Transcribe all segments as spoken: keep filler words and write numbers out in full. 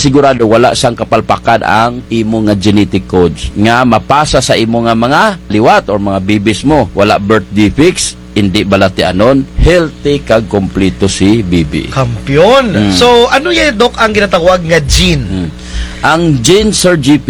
sigurado wala sang kapalpakan ang imo nga genetic codes nga mapasa sa imo nga mga liwat or mga babies mo. Wala birth defects, indi balatianon, healthy kag kompleto si baby. Kampiyon. Mm. So, ano ya, Doc, ang ginatawag nga gene? Mm. Ang gene, Sir G P,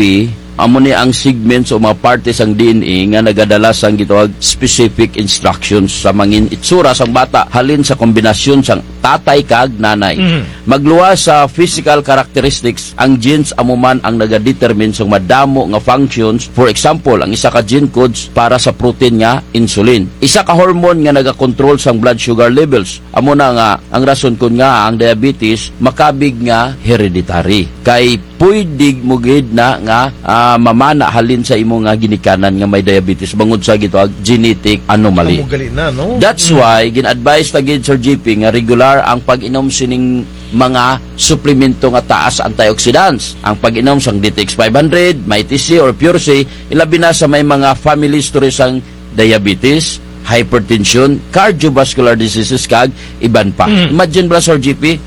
amo ni ang segments o mga parte sang D N A nga nagadala sang gitawag specific instructions sa mangin itsura sang bata halin sa kombinasyon sang tatay kag nanay. Mhm. Magluwas sa physical characteristics, ang genes amo man ang nagadetermine sang madamo nga functions. For example, ang isa ka gene codes para sa protein nga insulin. Isa ka hormone nga nagakontrol sang blood sugar levels. Amo na nga ang rason kon ngaa ang diabetes makabig nga hereditary. Kay pwede mo gid na nga, ah, mamana halin sa imo nga ginikanan nga may diabetes bangod sa gitawag genetic anomaly. Amo gali na, no? That's why gin-advise ta gid, Sir G P, nga regular ang pag-inom sining mga suplemento nga taas antioxidants. Ang pag-inom sang D T X five hundred, Mighty C or Pure C, ilabi na sa may mga family history sang diabetes, hypertension, cardiovascular diseases, kag iban pa. Mm. Imagine bala, Sir G P,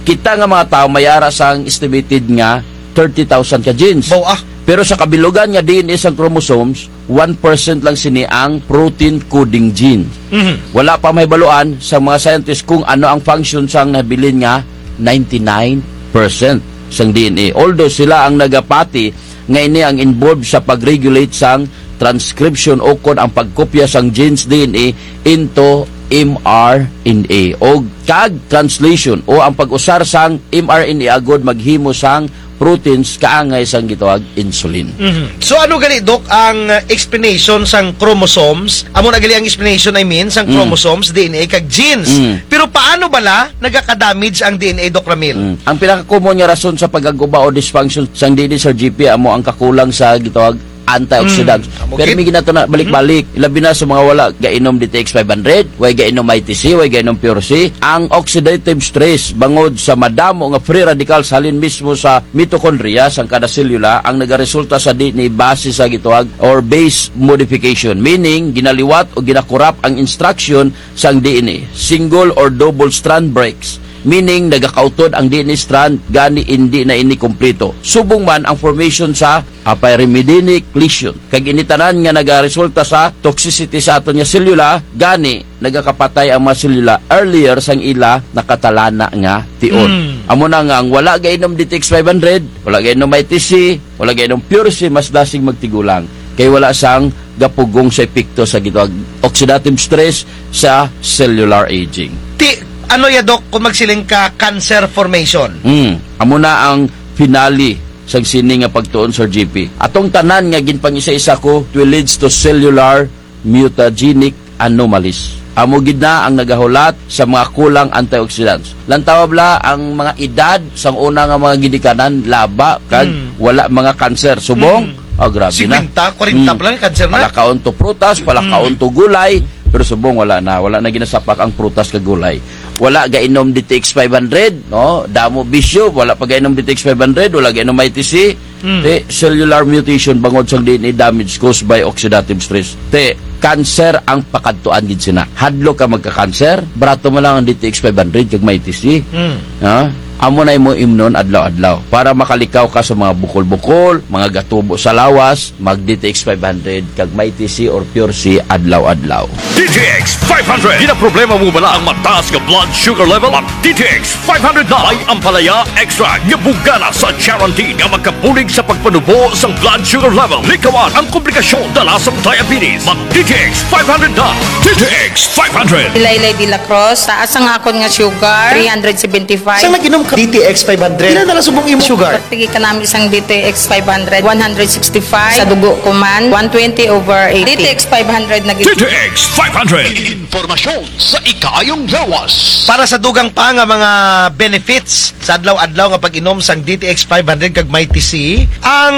kita nga mga tawo may ara sang estimated nga thirty thousand ka genes. Baw, ah. Pero sa kabilugan nga D N A sang chromosomes, one percent lang sini ang protein coding gene. Mhm. Wala pa mahibaluan sa mga scientist kung ano ang function sang nabilin nga ninety-nine percent sang D N A. Although sila ang nagapati nga ini ang involved sa pag-regulate sang transcription ukon ang pagkopya sang genes D N A into mRNA o kag translation o ang pag-usar sang mRNA agud maghimo sang proteins kaangay sang gitawag insulin. Mhm. So, ano gali, Doc, ang, uh, explanation sang chromosomes? Amo na gali ang explanation, I mean, sang, mm, chromosomes, D N A, kag genes. Mm. Pero paano bala nagaka-damage ang D N A, Doc Ramil? Mm. Ang pinaka-common nga rason sa pag-aguba o dysfunction sang D N A, Sir G P, amo ang kakulang sa gitawag antioxidants. Mm, amo gid. Pero may ginato na balik-balik, labi na sa mga wala gainom D T X five hundred, way gainom I T C, way gainom Pure C, ang oxidative stress bangod sa madamo nga free radicals halin mismo sa mitochondria sang kada selula ang nagaresulta sa D N A base sa gitawag or base modification, meaning ginaliwat o ginakorap ang instruction sang D N A, single or double strand breaks, meaning nagakautod ang D N A strand gani indi na ini kumpleto. Subong man ang formation sa apay arimidigic lesion. Kag ini tanan nga nagaresulta sa toxicity sa aton nga selula, gani nagakapatay ang mga selula earlier sang ila nakatalana nga tion. Mm. Amo na nga ang wala gainom D T X five hundred, wala gainom I T C, wala gainom Pure C, mas dasig magtigulang. Kay wala sang gapugong sa epekto sa gitawag oxidative stress sa cellular aging. Ti, ano ya, Doc, kung magsiling ka cancer formation? Mm. Amo na ang finale sang sini nga pagtuon, Sir G P. Atong tanan nga ginpangisa-isa ko, it will leads to cellular mutagenic anomalies. Amo gid na ang nagahulat sa mga kulang antioxidants. Lantawa bala ang mga edad sang una nga mga ginikanan, laba, kag, mm, wala mga cancer. Subong? Mm. Ah, grabe na. Singkwenta, kwarenta, mm, pa lang, cancer na. Palakaon to prutas, palakaon, mm, to gulay, pero subong wala na. Wala na ginasapak ang prutas kag gulay. Wala gainom D T X five hundred, no? Damo bisyo, wala pa gainom D T X five hundred, wala gainom I T C. Mm. Ti, cellular mutation bangod sang D N A damage caused by oxidative stress. Ti, cancer ang pakadtuan gid sina. Hadlok ka magka-cancer, barato man lang ang D T X five hundred kag Mighty C. Mm. Ha? Amo na imo imnon adlaw-adlaw. Para makalikaw ka sa mga bukol-bukol, mga gatubo sa lawas, mag D T X five hundred kag Mighty C or Pure C adlaw-adlaw. D T X five hundred. Ginaproblema mo bala ang mataas nga blood sugar level? Mag D T X five hundred na. May ampalaya extract nga bugana sa charantin nga makabulig sa pagpanubo sang blood sugar level. Likawan ang komplikasyon dala sang diabetes. Mag D T X five hundred na. D T X five hundred. Ilaylay de la Cruz, taas ang akon nga sugar, three hundred seventy-five. Sa nag-inom ka D T X five hundred, pila na lang subong imo sugar? Pagtigi kanami sang D T X five hundred, one hundred sixty-five. Sa dugo ko man, one twenty over eighty. D T X five hundred na gid. D T X five hundred. Impormasyon sa ikaayong lawas. Para sa dugang pa nga mga benefits sa adlaw-adlaw nga pag-inom sang D T X five hundred kag Mighty C, ang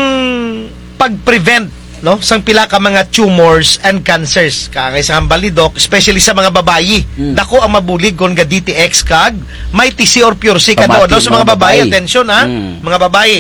pag-prevent, no, sang pila ka mga tumors and cancers. Kaangay sa hambal ni Doc, especially sa mga babayi. Mm. Dako ang mabulig kon ga D T X kag Mighty C or Pure C. Pamati kadlaw-adlaw sa mga mga babayi, babayi. Atensyon, ha? Mm. Mga babayi.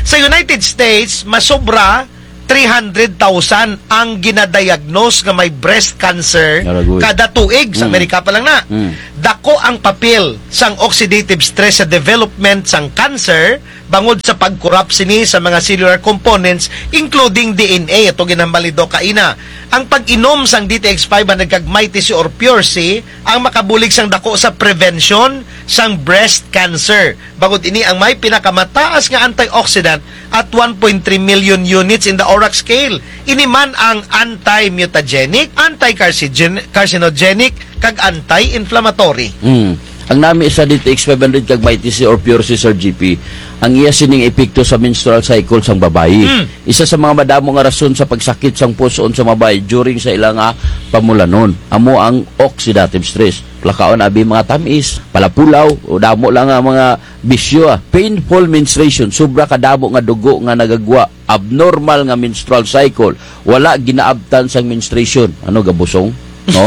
Sa United States, masobra three hundred thousand ang ginadiagnose nga may breast cancer. Naragoy. Kada tuig. Sa, mm, Amerika pa lang na. Mm. Dako ang papel sang oxidative stress sa development sang cancer, bangod sa pag-corrupt sini sa mga cellular components, including D N A, ato ginhambal ni Doc kaina. Ang pag-inom sang D T X five hundred kag Mighty C or Pure C, ang makabulig sang dako sa prevention sang breast cancer. Bangod ini ang may pinakamataas nga antioxidant at one point three million units in the ORAC scale. Ini man ang anti-mutagenic, anti-carcinogen-, carcinogenic, kag anti-inflammatory. Mm. Ang nami sa D T X five hundred kag Mighty C or Pure C, Sir G P, ang iya sining epekto sa menstrual cycle sang babayi. Mm. Isa sa mga madamo nga rason sa pagsakit sang pus-on sa babayi during sa ila nga pamulanon, amo ang oxidative stress. Lakaon abi mga tam-is, palapulaw, o damo lang nga mga bisyo, ah. Painful menstruation, sobra kadamo nga dugo nga nagagwa, abnormal nga menstrual cycle, wala ginaabtan sang menstruation. Ano, gabusong? No?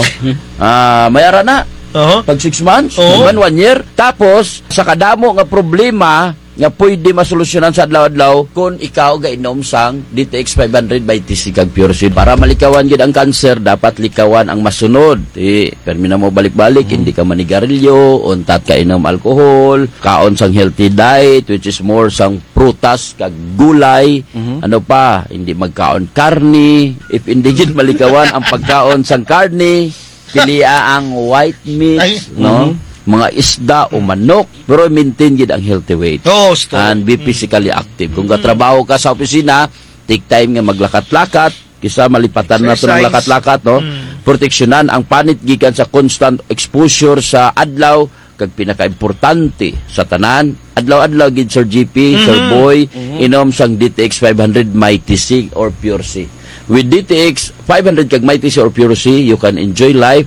Ah, may ara na. Oho. Pag six months, Oo. Even one year. Tapos, sa kadamo nga problema nga pwede masolusyonan sa adlaw-adlaw, kon ikaw gainom sang D T X five hundred Mighty C kag Pure C. Para malikawan gid ang cancer, dapat likawan ang masunod. Ti, permi na mo balik-balik, Mhm. hindi ka manigarilyo, untat ka inom alcohol, kaon sang healthy diet, which is more sang prutas kag gulay. Mhm. Ano pa, hindi magkaon karne. If hindi gid malikawan ang pagkaon sang karne, pilia ang white meat, Ay. no? Mhm. Mga isda o manok, pero maintain gid ang healthy weight. Oo, gusto. And be Mhm. physically active. Kung Mhm. katrabaho ka sa opisina, take time nga maglakat-lakat, kisa malipatan na to ng Exercise. lakat-lakat, no? Mm. Proteksyonan ang panit gikan sa constant exposure sa adlaw, kag pinakaimportante sa tanan, adlaw-adlaw gid, Sir G P, Sir Mhm. Boy, Mhm. inom sang D T X five hundred Mighty C or Pure C. With D T X five hundred kag Mighty C or Pure C, you can enjoy life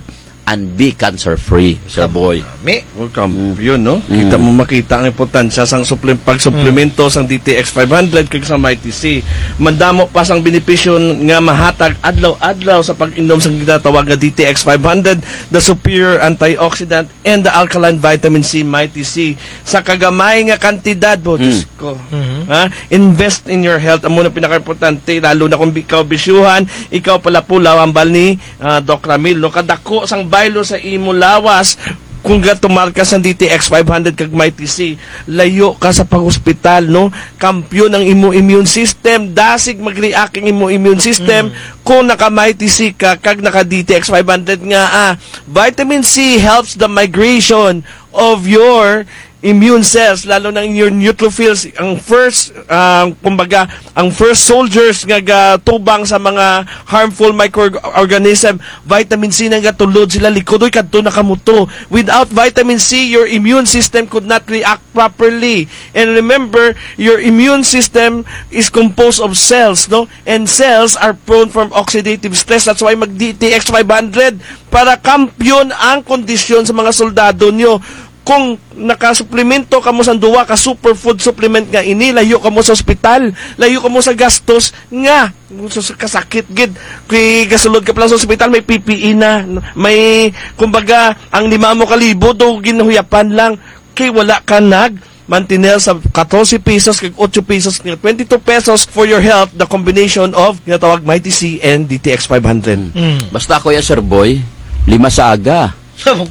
and be cancer-free, Sir Boy. Nami. Welcome. Mm. Yun, no? Mm. Kita mo, makita ang importansya sang suplem-, pagsuplemento Mm. sang D T X five hundred kag sa Mighty C. Madamo pa sang benepisyo nga mahatag adlaw-adlaw sa pag-inom sang ginatawag nga D T X five hundred, the superior antioxidant and the alkaline vitamin C, Mighty C. Sa kagamay nga kantidad, bo, Hmm. Diyos ko. Mhm. Ha? Invest in your health. Amo na pinakaimportante, lalo na kung ikaw bisyuhan, ikaw palapulaw, hambal ni, ah, Doc Ramil, no? Kadako sang baylo sa imo lawas, kung gatumar ka sa D T X five hundred kag Mighty C, layo ka sa pag-hospital, no? Kampiyon ang imo immune system, dasig mag-react ang imo immune system, Hmm. kung naka-Mighty C ka, kag naka-D T X five hundred nga, ah, vitamin C helps the migration of your immune cells, lalo na your neutrophils, ang first, ah, kumbaga, ang first soldiers nga gatubang sa mga harmful microorganism, vitamin C na gatulod sila likod, oy, kadto na kamo to. Without vitamin C, your immune system could not react properly. And remember, your immune system is composed of cells, no? And cells are prone from oxidative stress. That's why mag-D T X five hundred para kampiyon ang kondisyon sa mga soldado nyo. Kung nakasuplemento kamo sa duwa ka superfood supplement nga ini, layo kamo sa ospital, layo kamo sa gastos nga, sa kasakit gid. Kay gasulod ka pa lang sa ospital, may P P E na, may, kumbaga, ang lima mo ka libo, do, ginhuyapan lang. Kay wala ka nag mantener sa katorse pesos kag otso pesos nga twenty-two pesos for your health, the combination of ginatawag Mighty C and D T X five hundred. Mm. Basta ako ya, Sir Boy, lima sa aga.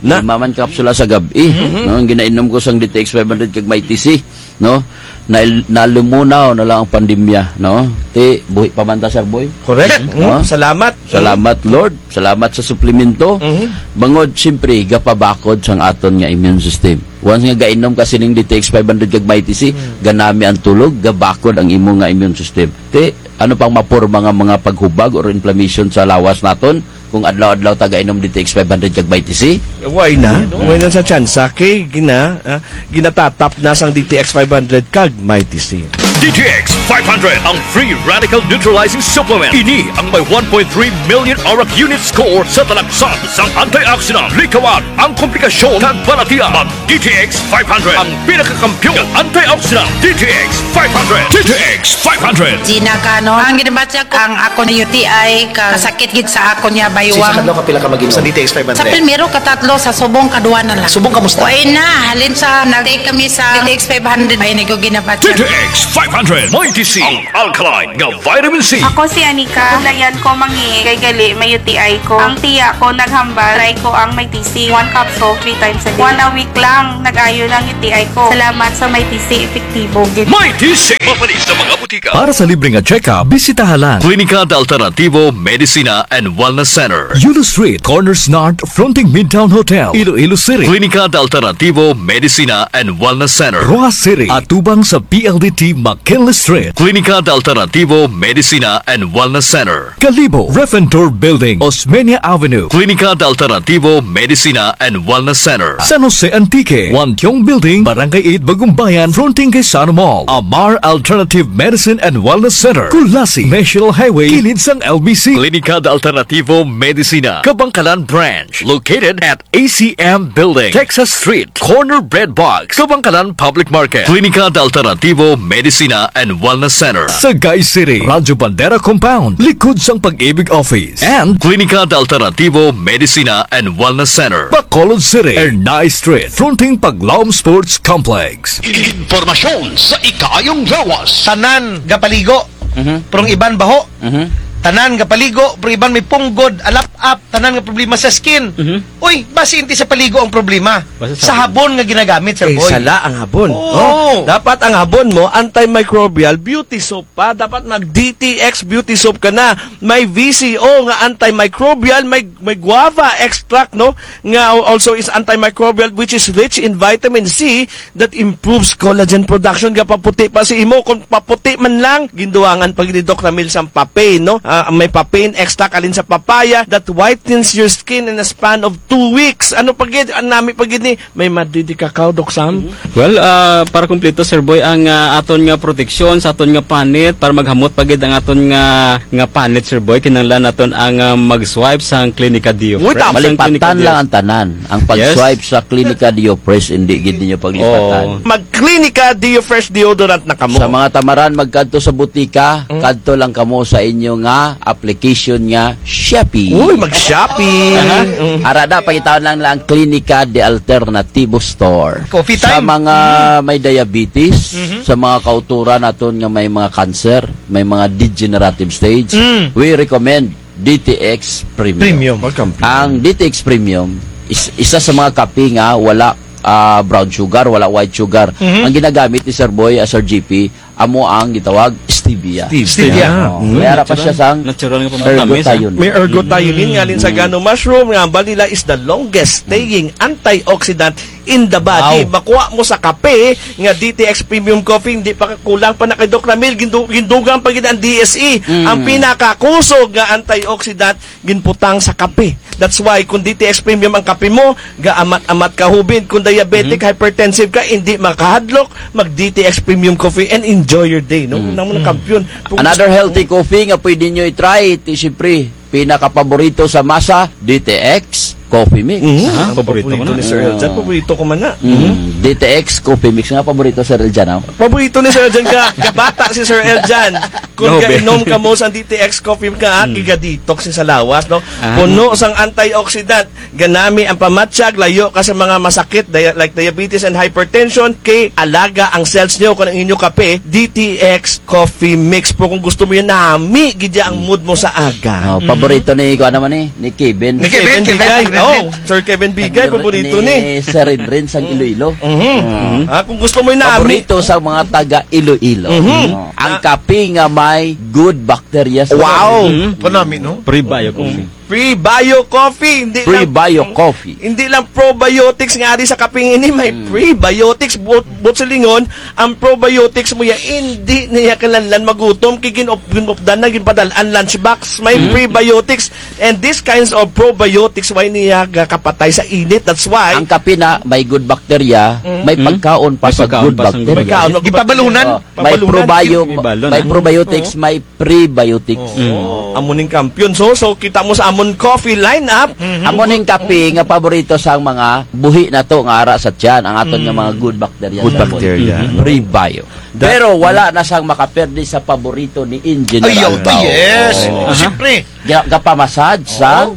Na? Lima man kapsula sa gab-i, Mhm. no? Ang ginainom ko sang D T X five hundred kag Mighty C, no? Na, nalumunaw na lang ang pandemya, no? Ti, buhi pa man ta, Sir Boy. Correct. No? Mm, salamat. Salamat, Lord. Salamat sa suplemento. Mhm. Bangod, siyempre, gapabakod sang aton nga immune system. Once nga gainom ka sining D T X five hundred kag Mighty C, Hmm. ganami ang tulog, gabakod ang imo nga immune system. Ti, ano pang maporma nga mga paghubag or inflammation sa lawas naton kung adlaw-adlaw ta gainom D T X five hundred kag Mighty C? Why na? Hmm. Why na sa tsansa? Kay gina-, ah, ginatatap na sang D T X five hundred kag Mighty C. D T X five hundred, ang free radical neutralizing supplement. Ini ang may one point three million ORAC unit score sa talagsaad sang antioxidant. Likawan ang komplikasyon kag balatian. Mag D T X five hundred, ang pinakakampiyon nga antioxidant. D T X five hundred. D T X five hundred. Gina Canon, ang ginabatya ko, ang akon U T I, kasakit gid sa akon nga Sa kadlaw, kapila ka mag-inom? Sa D T X five hundred. Sa primero, katatlo, sa subong, kadwa na lang. Subong, kamusta? Way na, halin sa nag-take kami sa D T X five hundred. Ay, naguginabat. D T X five hundred, Mighty C, ang alkaline nga vitamin C. Ako si Anika. Layan ko mangihi kay gali may U T I ko. Ang tiya ko naghambal, try ko ang Mighty C. One capsule, three times a day. One a week lang, nag-ayo lang U T I ko. Salamat sa Mighty C, epektibo gid. Mighty C. Mapalit sa mga butika. Para sa libre nga check-up, bisitaha lang Klinika de Alternativo Medicina and Wellness Center. Yulo Street, corner Snart, fronting Midtown Hotel, Iloilo City. Klinika de Alternativo Medicina and Wellness Center. Roxas City, atubang sa P L D T McKinley Street. Klinika de Alternativo Medicina and Wellness Center. Kalibo, Ref and Tour Building, Osmeña Avenue. Klinika de Alternativo Medicina and Wellness Center. San Jose Antique, Wan Tiong Building, Barangay eight, Bagumbayan, fronting kay Sano Mall. Amar Alternative Medicine and Wellness Center, Culasi, National Highway, kilid sang L B C. Klinika de Alternativo Medicina, Kabangkalan Branch, located at A C M Building, Texas Street, corner Bread Box, Kabangkalan Public Market. Klinika de Alternativo Medicina and Wellness Center, Sagay City, Radyo Bandera Compound, likod sang Pag-ibig Office. And Klinika de Alternativo Medicina and Wellness Center, Bacolod City, Ernai Street, fronting Paglaom Sports Complex. Impormasyon sa ikaayong lawas. Tanan gapaligo, Mhm. pero ang iban baho. Mhm. Tanan gapaligo, pero iban may punggod, alap-ap, tanan nga problema sa skin. Mhm. Uy, basi indi sa paligo ang problema. Basi sa Sa habon. habon nga ginagamit, Sir Kay Boy. sala ang habon. Oo. Oh, dapat ang habon mo, antimicrobial, beauty soap pa. Dapat mag D T X beauty soap ka na. May V C O nga antimicrobial, may, may guava extract, no? Nga also is antimicrobial, which is rich in vitamin C that improves collagen production. Gapaputi pa sa imo. Kung paputi man lang, gindugangan pa gid ni Doc Ramil sang papain, no? Ah, may papain extract halin sa papaya that whitens your skin in a span of two weeks. Ano pa gid? Ang nami pa gid ni, may madidi ka kaw, Doc Sam? Mhm. Well, ah, para kumpleto, Sir Boy, ang, ah, aton nga proteksyon sa aton nga panit, para maghamot pa gid ang aton nga, nga panit, Sir Boy, kinahanglan naton ang, ah, mag-swipe sa Klinika Dio Uy, Fresh. Sa Klinika Malipatan Dio lang ang tanan. Ang Yes. pag-swipe sa Klinika Dio Fresh, hindi gid ninyo paglipatan. Oo. Mag-Klinika Dio Fresh deodorant na kamo. Sa mga tamaran, magkadto sa butika, Mm. kadto lang kamo sa inyo nga application nga Shopee. Uy, mag-Shopee. Aha. Mm. Ara da, pangitaon lang ang Klinika de Alternativo Store. Coffee Sa time. mga may diabetes, Mhm. sa mga kauturan naton nga may mga cancer, may mga degenerative stage, Mm. we recommend D T X Premium. Premium. Welcome. Ang D T X Premium is isa sa mga kape nga wala, ah, brown sugar, wala white sugar. Mhm. Ang ginagamit ni Sir Boy, ah, Sir G P, amo ang gitawag stevia. Stevia. Stevia. Oh, Mm. may ara pa siya sang Natural nga pampatamis, ah. ergothioneine. May ergothioneine nga halin sa Mm. gano mushroom, nga ang vanilla is the longest staying antioxidant in the body. Wow. Makuha mo sa kape nga D T X Premium Coffee, hindi pa kulang pa na kay Doc Ramil, gindu-, gindugang pa gid ang D S E. Mm. Ang pinakakusog nga antioxidant ginbutang sa kape. That's why, kung D T X Premium ang kape mo, gaamat-amat ka hubin. Kung diabetic, Mhm. hypertensive ka, hindi makahadlok, mag D T X Premium Coffee and enjoy your day, no? Mm. Namo na Mm. kampiyon. Kung Another gusto healthy mo coffee nga pwede nyo i-try, ti siyempre, pinakapaborito sa masa, D T X Coffee Mix. Mhm. Ah, Ang paborito ko paborito na. ni Sir Eljan, Ah. paborito ko man na. Mm. Mhm. D T X Coffee Mix nga paborito, Sir Eljan, ah. Paborito ni Sir Eljan ka, kabata si Sir Eljan. Kung Grabe. gainom kamo sa D T X Coffee ka, Mm. giga-detox ni sa lawas, no? Ah. Puno sang antioxidant, ganami ang pamatyag, layo ka sa mga masakit, dia-, like diabetes and hypertension, kay alaga ang cells nyo, kung ang inyo kape, D T X Coffee Mix. Pero kung gusto mo yan, nami gid ya ang mood mo sa aga. Oh, Mm. paborito ni, kuan naman eh, ni Kevin. Ni Kevin, Kevin Bigay. Kevin. Oh, Sir Kevin Bigay, Ni, paborito ni ni. Sir Rinrin sang Iloilo. Mhm. Oh. Ah, kung gusto mo yan, nami. Paborito sa mga taga Iloilo. Mhm. Oh. Ang Ah. kape nga may good bacteria sa Wow! Mhm. Kanami, no? Prebio coffee. Prebio coffee, hindi lang Prebio coffee. hindi lang probiotics nga ari sa kape ini, may Mm. prebiotics, but, but sa lingon, ang probiotics mo ya, hindi niya kinahanglan magutom, kay gin-, gin-updan na, ginpadal-an lunchbox, may Mm. prebiotics, and these kinds of probiotics, way niya gakapatay sa init, that's why Ang kape na, may good bacteria, Mm. may Mm. pagkaon pa May sa pagkaon good pa sa bacteria. good bacteria. May kaon, Gipabalunan. Oh, may Pabalunan. probio-, May balon, may ah. probiotics, Oo. may prebiotics. Oo. Mm. Amo ning kampiyon. So, so, kita mo sa amon coffee lineup. Mhm. Amo ning kape nga paborito sa mga buhi nato nga ara sa tiyan, ang aton nga Mm. mga good bacteria Good sa bacteria. Mhm. Prebio. That Pero wala na sang makaperde sa paborito ni Engineer Ay, Alba. yes. Oo. Aha. Siyempre. Ga-, gapamassage Oo. sang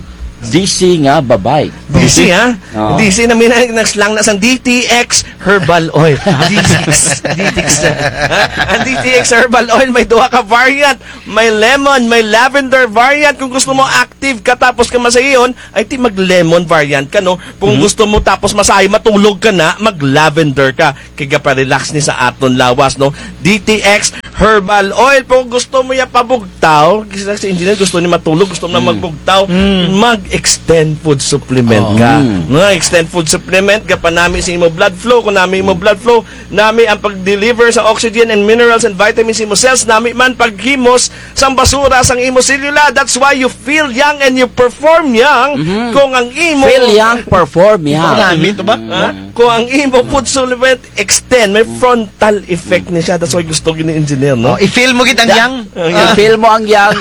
D C nga babay. D C, ha? Oo. D C na may na-, nag-slang na sang D T X Herbal Oil. D T X, D T X na. Ha? Ang D T X Herbal Oil, may duha ka variant. May lemon, may lavender variant. Kung gusto mo active ka tapos ka masahion, ay ti mag-lemon variant ka, no? Kung gusto mo tapos masahi, matulog ka na, mag-lavender ka. Kay gapa-relax ni sa aton lawas, no? D T X Herbal Oil. Pero gusto mo ya pabugtaw, kasi si engineer gusto ni matulog, gusto mo na magbugtaw, mag-Extend Food Supplement ka. No, Extend Food Supplement, gapanami sa imo blood flow. Kung nami imo blood flow, nami ang pag-deliver sa oxygen and minerals and vitamins sa imo cells, nami man paghimos sang basura sang imo selula. That's why you feel young and you perform young. Kung ang imo Feel young, perform young. Nami to ba? Ha? Kung ang imo food supplement extend, may frontal effect ni siya. That's why gusto gid ni engineer, no? Oh, i-feel mo gid ang yang. I-feel mo ang yang.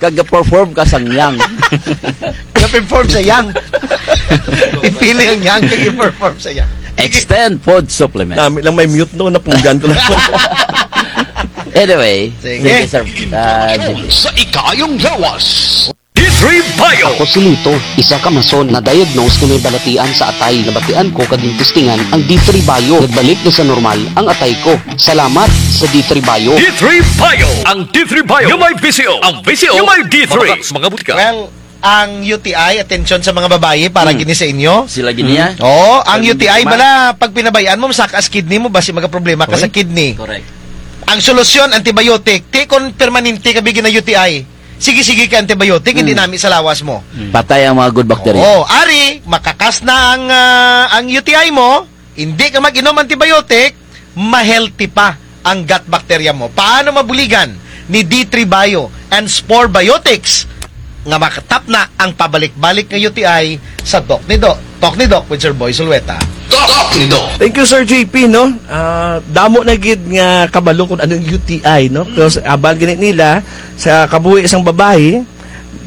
Kag perform ka sang yang. Ga-perform sa yang. I-feel ang yang, kag i-perform sa yang. Extend food supplement. Nami lang may mute, no? Napunggan ko lang. Anyway, sige, sir. Ah, G P. Sa ikayong lawas. D three Bio. Ako si Lito, isa ka mason na diagnose nga may balatian sa atay. Nabatian ko kag gintistingan ang D three Bio. Nagbalik na sa normal ang atay ko. Salamat sa D three Bio. D three Bio. Ang D three Bio nga may V C O. Ang V C O nga may D three. Mga butika. Well, ang U T I, atensyon sa mga babayi, para gini sa inyo. Sila gini, ah. Oo, ang U T I bala, pag pinabayaan mo, masaka sa kidney mo, basi magaproblema ka sa kidney. Correct. Ang solusyon, antibiotic. Ti kon permanente ka bi gina-U T I. Sige-sige ka antibiotic, hindi nami sa lawas mo. Patay ang mga good bacteria. Oo, ari, makakas na ang, ah, ang U T I mo, hindi ka mag-inom antibiotic, ma-healthy pa ang gut bacteria mo. Paano mabuligan ni D three Bio and Spore Biotics nga makatapna ang pabalik-balik nga U T I sa Doc ni Doc? Talk ni Doc with Sir Boy Zulueta. Talk ni Doc. Thank you, Sir J P, no? Ah, damo na gid nga kabalo kung anong U T I, no? Because abal gani nila sa kabuhi sang babayi,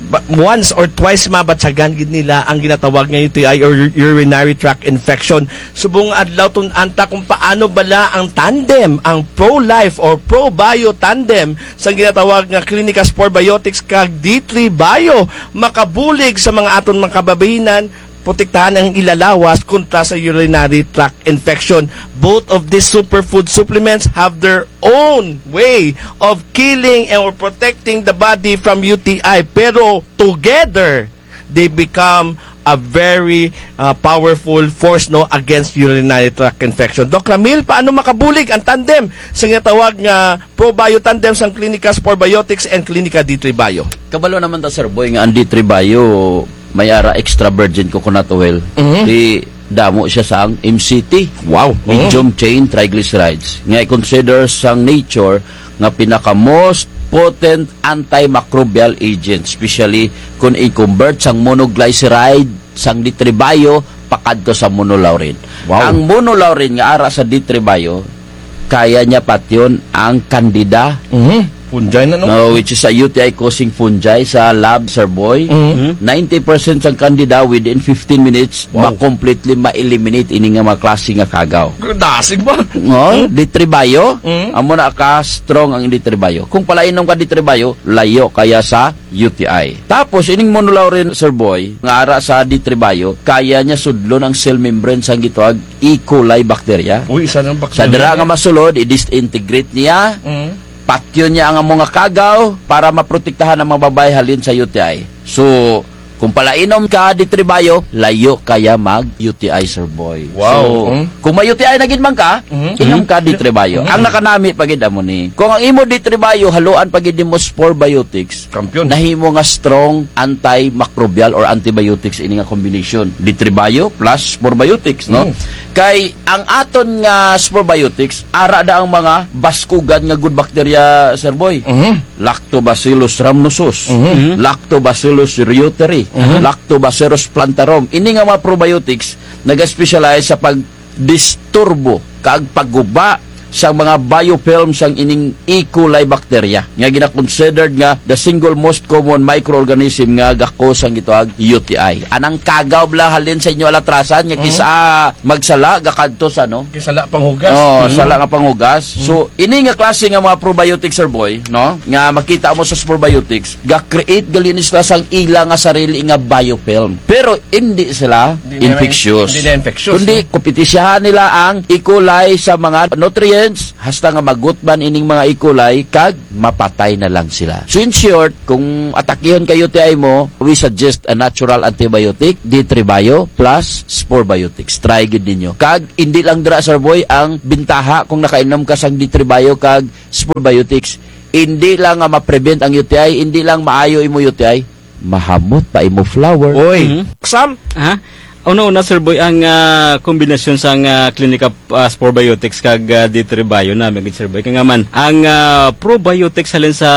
ba-, once or twice mabatyagan gid nila ang ginatawag nga U T I or u-, urinary tract infection. Subong adlaw tun-an ta kung paano bala ang tandem, ang Pro Life or Pro Bio tandem sa ginatawag nga Clinica Spore Biotics kag D three Bio makabulig sa mga aton mga kababayin-an, protektahan ang ila lawas kontra sa urinary tract infection. Both of these superfood supplements have their own way of killing and or protecting the body from U T I. Pero together, they become a very, uh, powerful force, no, against urinary tract infection. Doc Ramil, paano makabulig ang tandem sa ginatawag nga Pro Bio tandem sang Clinica Spore Biotics and Clinica D three Bio? Kabalo naman ta, Sir Boy, nga ang D three Bio may ara extra virgin coconut oil. Ti damo siya sang M C T. Wow. Medium chain triglycerides. Nga i-consider sang nature nga pinaka most potent antimicrobial agent, especially kung i-convert sang monoglyceride sang D three Bio pakadto sa monolaurin. Wow. Ang monolaurin nga ara sa D three Bio, kaya niya patyon ang candida. Fungi na, no? No, which is a U T I causing fungi sa lab, Sir Boy. Ninety percent sang candida within fifteen minutes, ma-completely ma-eliminate ini nga mga klase nga kagaw. Dasig ba? No, D three Bio, amo na ka strong ang D three Bio. Kung palainom ka D three Bio, layo kaya sa U T I. Tapos, ining monolaurin, Sir Boy, nga ara sa D three Bio, kaya niya sudlon ang cell membrane sang gitawag E. coli bacteria. Uy, isa nang bacteria. Sa dira nga masulod, i-disintegrate niya, patyon niya ang amo nga kagaw para maprotektahan ang mga babayi halin sa U T I. So, kung palainom ka D three Bio, layo kaya mag-U T I, Sir Boy. Wow. So, kung may U T I na gid man ka, inom ka D three Bio. Ang nakanami pa gid amo ni, kung ang imo D three Bio, haluan pa gid nimo Spore Biotics, nahimo nga strong antimicrobial or antibiotics ini nga combination. D three Bio plus Spore Biotics, no? Kay ang aton nga Spore Biotics, ara da ang mga baskugan nga good bacteria, Sir Boy. Lactobacillus rhamnosus, Lactobacillus reuteri, Lactobacillus plantarum. Ini nga mga probiotics, naga-specialize sa pagdisturbo kag pagguba sa mga biofilm sang ining E. coli bacteria nga gina-considered nga the single most common microorganism nga ga-cause sang gitawag U T I. Anang kagaw bala halin sa inyo alatrasan nga kis-a magsala gakadto sa, no? Kis-a sala panghugas. Oh, sala nga panghugas. So, ini nga klase nga mga probiotics, Sir Boy, no? Nga makita mo sa Spore Biotics, ga-create gali ni sila sang ila nga sarili nga biofilm. Pero indi sila infectious. Indi na infectious, kundi kompetisyahan nila ang E. coli sa mga nutrients, hasta nga magutman ining mga E. coli, kag mapatay na lang sila. So, in short, kung atakihon ka U T I mo, we suggest a natural antibiotic, D three Bio plus Spore Biotics. Try gid ninyo. Kag indi lang dira, Sir Boy, ang bintaha kung nakainom ka sang D three Bio kag Spore Biotics. Indi lang nga ma-prevent ang U T I, indi lang maayo imo U T I, mahamot pa imo flower. Oy. Mhm. Sam? Ha? Una-una, Sir Boy, ang, ah, kombinasyon sang, ah, Clinica, ah, Spore Biotics kag, ah, D three Bio na, mga Sir Boy. Kaya nga man, ang, ah, probiotics halin sa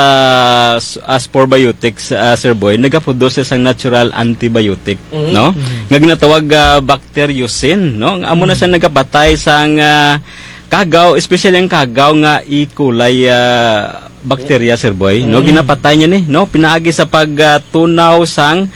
s-, ah, Spore Biotics, ah, Sir Boy, nagaproduce sang natural antibiotic, no? Nga ginatawag, ah, bacteriocin, no? Amo na siya nagapatay sang, ah, kagaw, especially ang kagaw nga E. coli, ah, bacteria, Sir Boy, no? Ginapatay niya ni, no? Pinaagi sa pag, ah, tunaw sang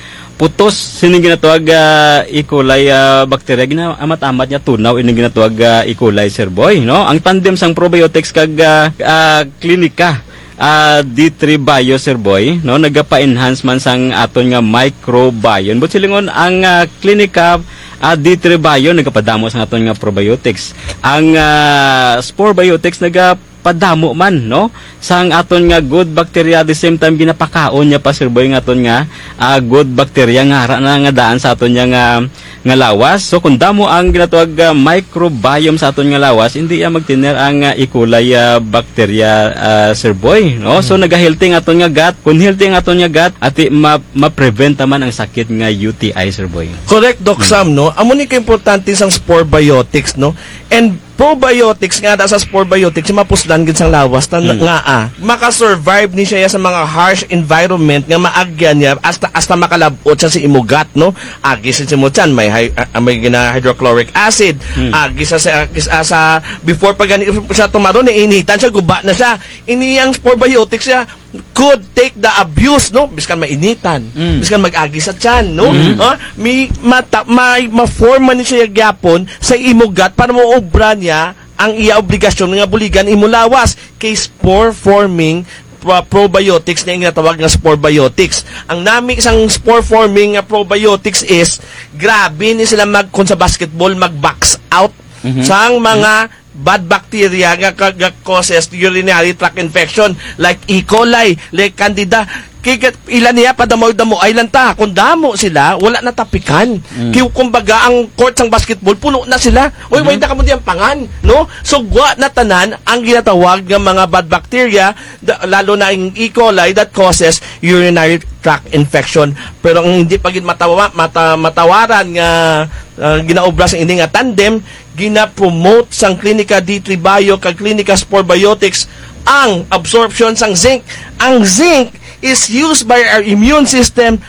putos, sining ginatawag, ah, E. coli, ah, bacteria, gina-, amat-amat niya tunaw, ining ginatawag, ah, E. coli, Sir Boy, no? Ang tandem sang probiotics kag, ah, ah, Clinica, ah, D three Bio, Sir Boy, no? Nagapa-enhance man sang aton nga microbiome. But silingon ang, ah, Clinica, ah, D three Bio, nagapadamo sang aton nga probiotics. Ang, ah, Spore Biotics, naga- padamo man, no? Sang aton nga good bacteria, at the same time, ginapakaon niya pa, Sir Boy, nga aton nga, ah, good bacteria nga ara na nga daan sa aton nga, nga, nga lawas. So, kung damo ang ginatawag, ah, microbiome sa aton nga lawas, indi iya magtener ang, ah, E. coli, ah, bacteria, ah, Sir Boy, no? So, nagahealthy ang aton nga gut. Kung healthy ang aton nga gut, ati ma-, ma-prevent ta man ang sakit nga U T I, Sir Boy. Correct, Doc Sam, no? Amo ni kaimportante sang Spore Biotics, no? And probiotics nga, da sa Spore Biotics, mapuslan gid sang lawas, ta nga, ah, maka-survive ni siya sa mga harsh environment nga maagyan niya, hasta, hasta makalab-ot siya sa imo gut, no? Agi sa imo tiyan, may hy-, ah, may gina-hydrochloric acid, agi sa, sa, sa, sa, before pa gani siya tumaron, nainitan siya, guba na siya. Ini ang Spore Biotics siya, could take the abuse, no? Biskan mainitan, biskan mag-agi sa tiyan, no? Ah, may mata-, may ma-form man siya gyapon sa imo gut para maobra niya ang iya obligasyon nga buligan imo lawas kay spore forming pro-, probiotics nga ginatawag nga Spore Biotics. Ang nami sang spore forming nga probiotics is grabe ni sila mag-, kung sa basketball, mag-box out sang mga bad bacteria nga ka-, nga causes urinary tract infection, like E. coli, like Candida. Kay kat-, ila niya padamo-damo, ay lang ta, kung damo sila, wala na ta pikan. Kay kumbaga, ang court sang basketball, puno na sila. Uy, way na kamo diyang pangan, no? So, gwa na tanan ang ginatawag nga mga bad bacteria, da-, lalo na ang E. coli that causes urinary tract infection. Pero ang hindi pa gid matawa-, mata-, matawaran nga, ah, ginaobra sa ini nga tandem, gina-promote sang Clinica D three Bio kag Clinica Spore Biotics ang absorption sang zinc. Ang zinc is used by our immune system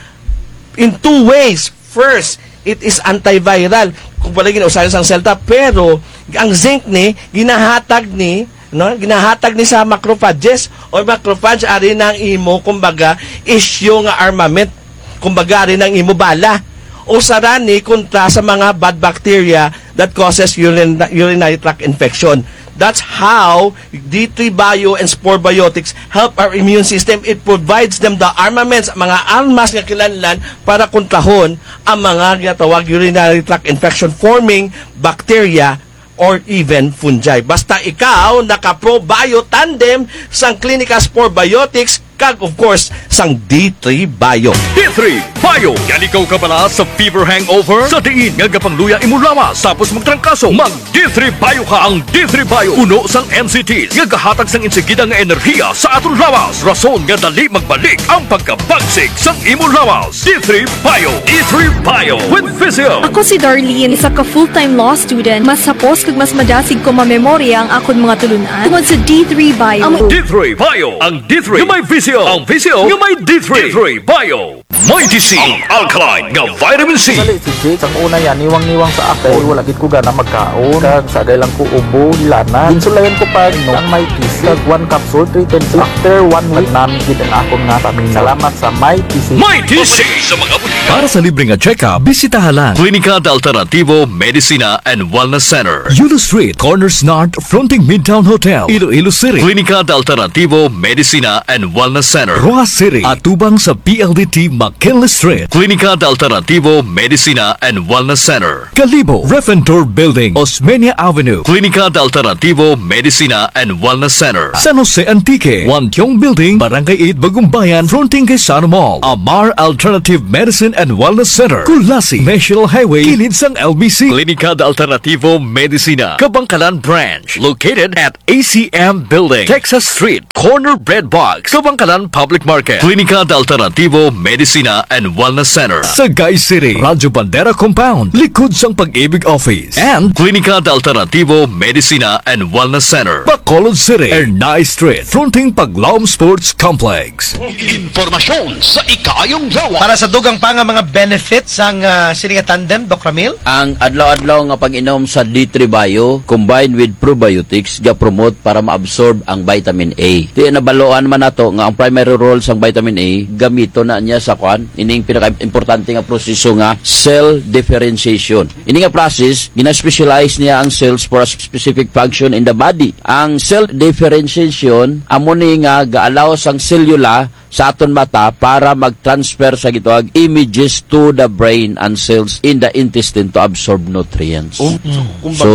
in two ways. First, it is antiviral. Kung pala ginausayan sang selta, pero ang zinc ni, ginahatag ni, no? Ginahatag ni sa macrophages. O macrophage, ari nang imo, kumbaga, issue nga armament. Kumbaga, ari nang imo bala. Usa ra ni kontra sa mga bad bacteria that causes urin-, urinary tract infection. That's how D three Bio and Spore Biotics help our immune system. It provides them the armaments, mga armas nga kinahanglan para kontrahon ang mga ginatawag urinary tract infection forming bacteria or even fungi. Basta ikaw naka-Pro Bio Tandem sang Clinica Spore Biotics kag, of course, sang D three Bio. D three Bio. Yaligaw ka bala sa fever hangover? Sa diin nga gapangluya imo lawas, tapos magtrangkaso, mag D three Bio ka. Ang D three Bio, puno sang N C Ts, nga gahatag sang insigida nga enerhiya sa aton lawas, rason nga dali magbalik ang pagkabagsik sang imo lawas. D three Bio. D three Bio with Visio. Ako si Darlene, isa ka full-time law student. Mas hapos kag mas madasig ko mamemorya ang akon mga tulun-an tungod sa D three Bio. Amo D three Bio. Ang D three nga may Visio. Ang Visio nga may D three. D three Bio. Mighty C, ang alkaline nga vitamin C. Sali si Jake, sang una ya, niwang-niwang sa ako. Wala gid ko gana magkaon. Kag sa agay lang ko ubo, hilanan. Ginsulayan ko pag-inom ang Mighty C. Kag one capsule, three times. After one week, nagnami gid ang akon nga stamina. Salamat sa Mighty C. Mighty C! Sa mga butika. Para sa libre nga check-up, bisitaha lang Klinika de Alternativo Medicina and Wellness Center. Yulo Street, corner Snart, fronting Midtown Hotel, Iloilo City. Klinika de Alternativo Medicina and Wellness Center, Roxas City, atubang sa P L D T McKinley Street. Klinika de Alternativo Medicina and Wellness Center, Kalibo, Ref and Tour Building, Osmeña Avenue. Klinika de Alternativo Medicina and Wellness Center, San Jose Antique, Wantiong Building, Barangay eight, Bagumbayan, fronting kay Sano Mall. Amar Alternative Medicine and Wellness Center, Culasi, National Highway, kilid sang L B C. Klinika de Alternativo Medicina, Kabangkalan Branch, located at A C M Building, Texas Street, corner Bread Box, Kabangkalan Public Market. Klinika de Alternativo Medicina and Wellness Center, Sagay City, Radyo Bandera Compound, likod sang Pag-ibig Office. And Klinika de Alternativo Medicina and Wellness Center, Bacolod City, Ernai Street, fronting Paglaom Sports Complex. Impormasyon sa ikaayong lawas. Para sa dugang pa nga mga benefits sang, ah, sini nga tandem, Doc Ramil? Ang adlaw-adlaw nga pag-inom sa D three Bio combined with probiotics ga-promote para ma-absorb ang vitamin A. Ti nabaluan man nato nga ang primary role sang vitamin A, gamiton na niya sa kuan, ining pinaka-importante nga proseso nga cell differentiation. Ini nga process, gina-specialize niya ang cells for a specific function in the body. Ang cell differentiation, amo ni nga ga-allow sang selula sa aton mata para mag-transfer sa gitawag images to the brain and cells in the intestine to absorb nutrients. Oh, so, kumbaga, so,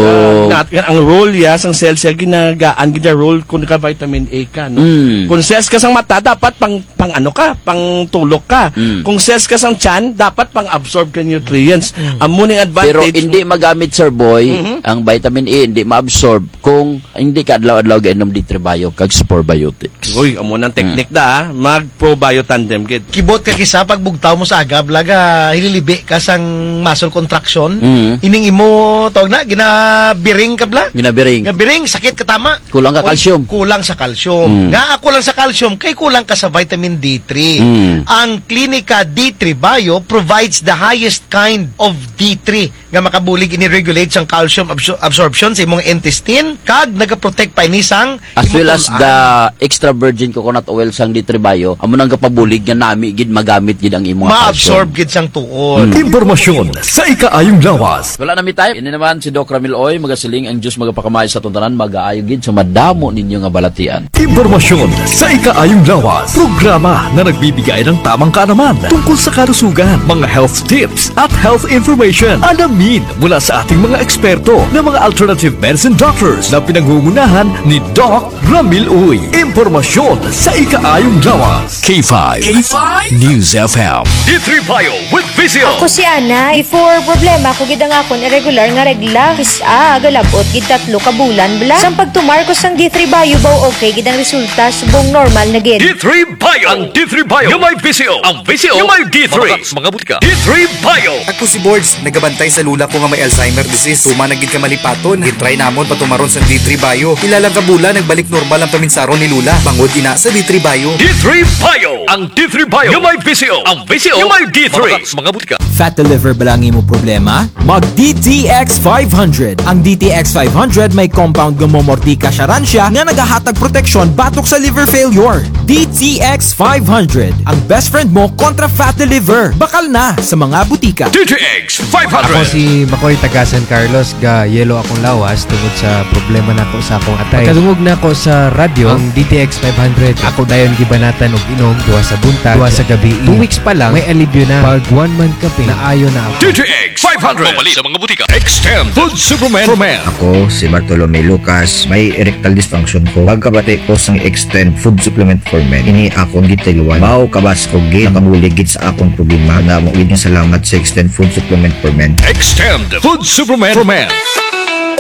nat-, ang role ya sang cells ya ginagaan gid ya role kung naka-vitamin A ka, no? Mm. Kung cells ka sang mata, dapat pang, pang ano ka, pang tulok ka. Mm. Kung cells ka sang tiyan, dapat pang-absorb ka nutrients. Mm. Amo ning advantage. Pero hindi magamit, Sir Boy, mhm, ang vitamin A, hindi ma-absorb kung hindi ka adlaw-adlaw gainom D three Bio kag sa probiotics. Uy, amo nang technique da, ah. Mag-probio tandem gid. Kibot ka kis-a pagbugtaw mo sa aga bala, hililibi ka sang muscle contraction. Mm. Ining imo, tawag na, ginabiring ka bala? Ginabiring. Ginabiring, sakit ka tama. Kulang ka calcium. Kulang sa calcium. Mm. Nga, ah, kulang sa calcium, kay kulang ka sa vitamin D three. Mm. Ang Klinika D three Bio provides the highest kind of D three nga makabulig ini regulate sang calcium absor-, absorption sa imong intestine, kag nagaprotect pa ini sang imong, as well as the extra virgin coconut oil sang D three Bio, amo nang gapabulig nga nami gid, magamit gid ang imong calcium. Ma-absorb gid sang tuod. Mm. Impormasyon sa ikaayong lawas. Wala na mi time. Ini naman si Doc Ramil Uy, magasiling ang Diyos magapakamaayo sa aton tanan, magaayo gid sa madamo ninyo nga balatian. Impormasyon sa ikaayong lawas. Programa na nagbibigay ng tamang kaalaman tungkol sa kalusugan, mga health tips at health information. Alamin mula sa ating mga eksperto na mga alternative medicine doctors na pinangungunahan ni Doc Ramil Uy. Impormasyon sa ikaayong lawas. K five. K five News F M. D three Bio with Visio. Ako si Ana. Before, problema ko gid ang akon irregular nga regla. Kis-a, galab-ot gid tatlo ka bulan bala. Sang pagtumar ko sang D three Bio, baw okay gid ang resulta, subong normal na gid. D three Bio. Ang D three Bio nga may Visio. Ang Visio nga may D three. Mabakal sa mga butika. D three Bio. Ako si Bords, nagabantay sa lola ko nga may Alzheimer disease. Tuman na gid ka malipaton. Gin-try namon patumaron sang D three Bio. Pila lang ka bulan, nagbalik normal ang paminsaron ni lola. Bangod ina sa D three Bio. D three Bio. Ang D three Bio nga may Visio. Ang Visio nga may D three. Mabakal sa mga butika. Fatty liver bala ang imo problema? Mag D T X five hundred. Ang D T X five hundred may compound nga momortika siya ran siya nga nagahatag proteksyon batok sa liver failure. D T X five hundred, ang best friend mo kontra fatty liver. Bakal na sa mga butika. D T X five hundred. Ako si Makoy, taga San Carlos, ga-yellow akong lawas tungod sa problema nako sa akong atay. Pagkadungog nako sa radyo ang D T X five hundred, ako dayon gibanatan og inom duha sa buntag, duha sa gabii. Two weeks pa lang, may alibyo na. Pag one month kapin, naayo na ako. D T X five hundred. Mapalit sa mga butika. Extend Food Supplement for Men. Ako si Bartolome Lucas, may erectile dysfunction ko. Pagkabati ko sang Extend Food Supplement for Men, ini akon gitayluan. Baw kabas ko gid, nakabulig gid sa akon problema. Damo gid nga salamat sa Extend Food Supplement for Men. Extend Food Supplement for Men.